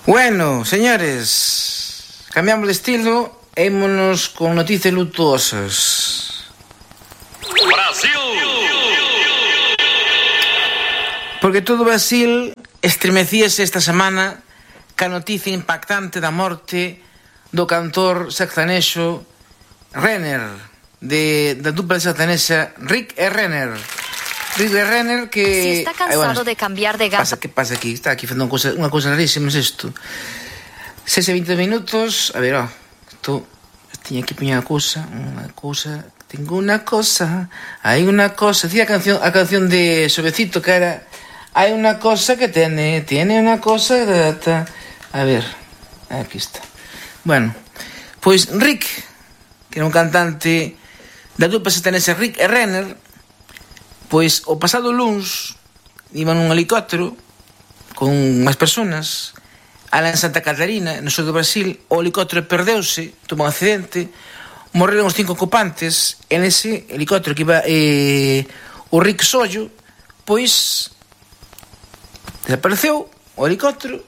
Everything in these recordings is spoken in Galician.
Bueno, señores, cambiamos de estilo e ímonos con noticias lutuosas. Brasil! Porque todo Brasil estremecíase esta semana ca noticia impactante da morte do cantor sertanexo Renner, da dupla sertanexa Rick e Renner. Rick e Renner que... Si está cansado de cambiar de gama... ¿Qué pasa aquí? Está aquí facendo unha cousa rarísima, es isto. 6 e 20 minutos, a ver, isto... Tiña que poñer unha cousa, tengo una cosa, hai unha cosa, decía a canción de Suavecito que era hai unha cosa que tiene unha cosa grata. A ver, aquí está. Bueno, pois Rick, que era un cantante da dupla sertanexa Rick e Renner, pois o pasado luns iban nun helicóptero con máis personas alá en Santa Catarina, no sur do Brasil. O helicóptero perdeuse, tuvo un accidente, morreron os 5 ocupantes. En ese helicóptero que iba o Rick Sollo, pois desapareceu o helicóptero.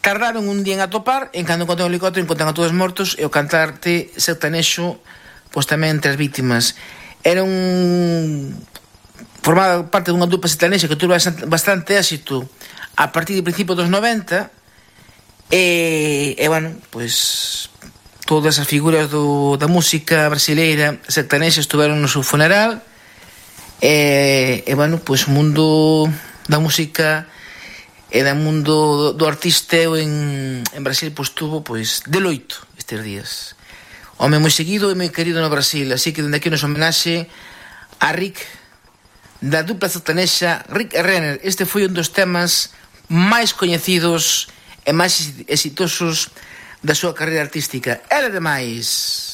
Tardaron un día en atopar, en cando encontran o helicóptero encontran a todos mortos, e o cantante sertanexo pois tamén entre as vítimas. Era formaba parte dunha dupla sertanexa que tuvo bastante éxito a partir do principio dos 90. E bueno, pois todas as figuras da música brasileira sertanexa estuveron no seu funeral. E bueno, pois o mundo da música e do mundo do artista en Brasil pois tuvo pois de loito estes días. Home moi seguido e moi querido no Brasil, así que dende aquí nos homenaxe a Rick, da dupla sertanexa Rick e Renner. Este foi un dos temas máis coñecidos e máis exitosos da súa carreira artística. Era demais.